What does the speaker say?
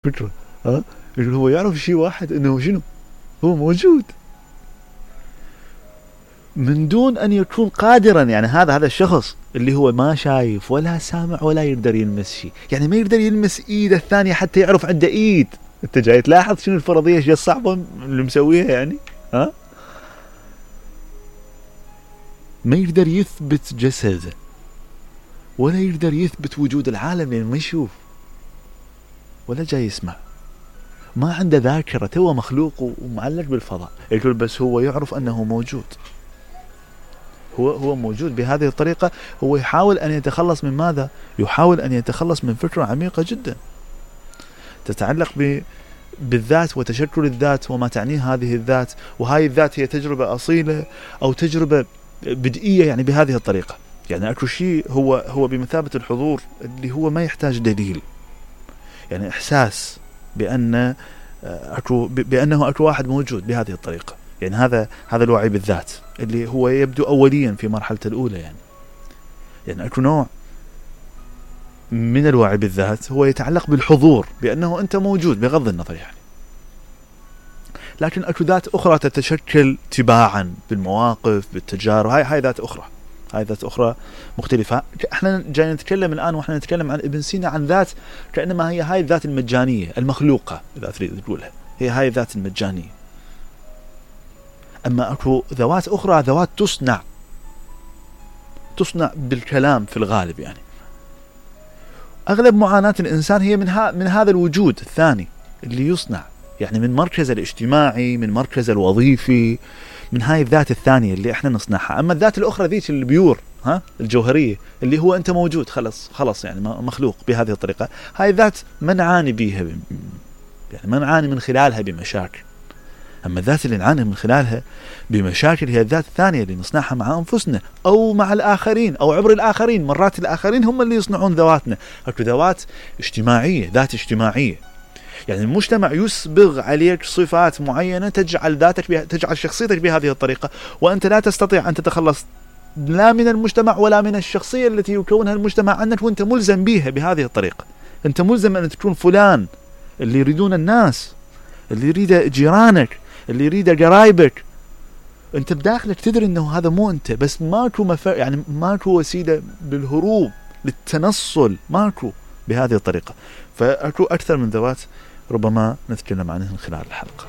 فكرة. ها هو يعرف شيء واحد انه شنو هو موجود من دون ان يكون قادرا. يعني هذا الشخص اللي هو ما شايف ولا سامع ولا يقدر يلمس شيء، يعني ما يقدر يلمس ايد الثانية حتى يعرف عنده ايد. انت جاي تلاحظ شنو الفرضية ايش الصعبة اللي مسويها يعني. ها ما يقدر يثبت جسده ولا يقدر يثبت وجود العالم لأنه ما يشوف ولا جاي يسمع، ما عنده ذاكرة، هو مخلوق ومعلق بالفضاء. يقول بس هو يعرف أنه موجود، هو موجود بهذه الطريقة. هو يحاول أن يتخلص من ماذا؟ يحاول أن يتخلص من فكرة عميقة جدا تتعلق بالذات وتشكل الذات وما تعنيه هذه الذات. وهذه الذات هي تجربة أصيلة أو تجربة بدئية، يعني بهذه الطريقة. يعني أكو شيء هو بمثابة الحضور اللي هو ما يحتاج دليل، يعني إحساس بأنه أكو واحد موجود بهذه الطريقة. يعني هذا الوعي بالذات اللي هو يبدو أوليا في مرحلة الأولى. يعني أكو نوع من الوعي بالذات هو يتعلق بالحضور، بأنه أنت موجود بغض النظر يعني. لكن أكو ذات أخرى تتشكل تباعا بالمواقف بالتجارب. هاي ذات أخرى، هاي ذات أخرى مختلفة. احنا جاي نتكلم الآن واحنا نتكلم عن ابن سينا عن ذات كأنما هي هاي الذات المجانية المخلوقة إذا تريد تقولها، هي هاي الذات المجانية. أما أكو ذوات أخرى، ذوات تصنع بالكلام في الغالب. يعني أغلب معاناة الإنسان هي من هذا الوجود الثاني اللي يصنع، يعني من مركز الاجتماعي، من مركز الوظيفي، من هاي الذات الثانية اللي احنا نصنعها. أما الذات الأخرى ذيك البيور الجوهرية اللي هو أنت موجود خلص يعني مخلوق بهذه الطريقة. هاي الذات ما نعاني بيها، يعني ما نعاني من خلالها بمشاكل. أما الذات اللي نعاني من خلالها بمشاكل هي الذات الثانية اللي نصنعها مع أنفسنا أو مع الآخرين أو عبر الآخرين. مرات الآخرين هم اللي يصنعون ذواتنا. أكو ذوات اجتماعية، ذات اجتماعية، يعني المجتمع يسبغ عليك صفات معينة تجعل شخصيتك بهذه الطريقة، وأنت لا تستطيع أن تتخلص لا من المجتمع ولا من الشخصية التي يكونها المجتمع عنك، وأنت ملزم بها بهذه الطريقة. أنت ملزم أن تكون فلان اللي يريدون الناس، اللي يريد جيرانك، اللي يريد قرايبك. أنت بداخلك تدري أنه هذا مو أنت، بس يعني ماكو وسيلة بالهروب للتنصل، ماكو بهذه الطريقة. فأكو أكثر من ذوات ربما نتكلم عنها خلال الحلقة.